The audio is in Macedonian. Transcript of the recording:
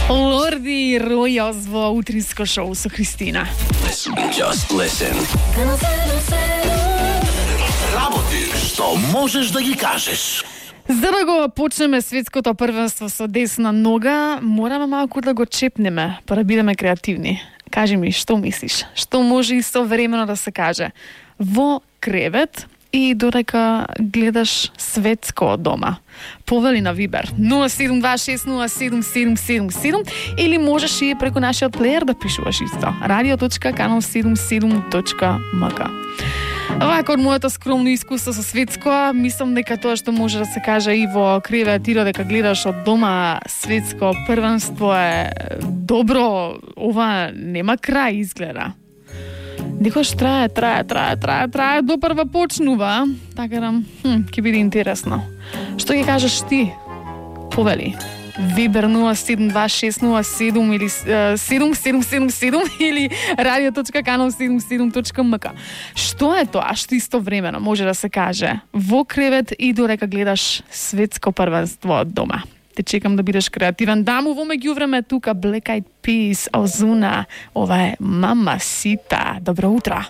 Lordi Royals во утринско шоу со Христина. Just listen. Работи што можеш да ги кажеш. За да го почнеме светското првенство со десна нога, мораме малку да го чепнеме, па да бидеме креативни. Кажи ми, што мислиш? Што може истовремено да се каже во кревет и додека гледаш светско од дома? Повели на Вибер 072607777 или можеш и преку нашиот плеер да пишуваш исто radio.canal77.mk. Вака од моето скромно искуство со светско, мислам дека тоа што може да се каже и во кревет и додека гледаш од дома светско првенство е добро. Ова нема крај изгледа. Некош трае, допрва почнува, така да, ќе биде интересно. Што ќе кажеш ти? Повели. Вибер 0726077 или 7777 или radio.canal77.mk. Што е тоа што истовремено може да се каже во кревет и додека гледаш светско првенство од дома? Те чекам да бидеш креативен. Даму во меѓувреме тука Black Eyed Peas, Ozuna, ова е Mamacita. Добро утро.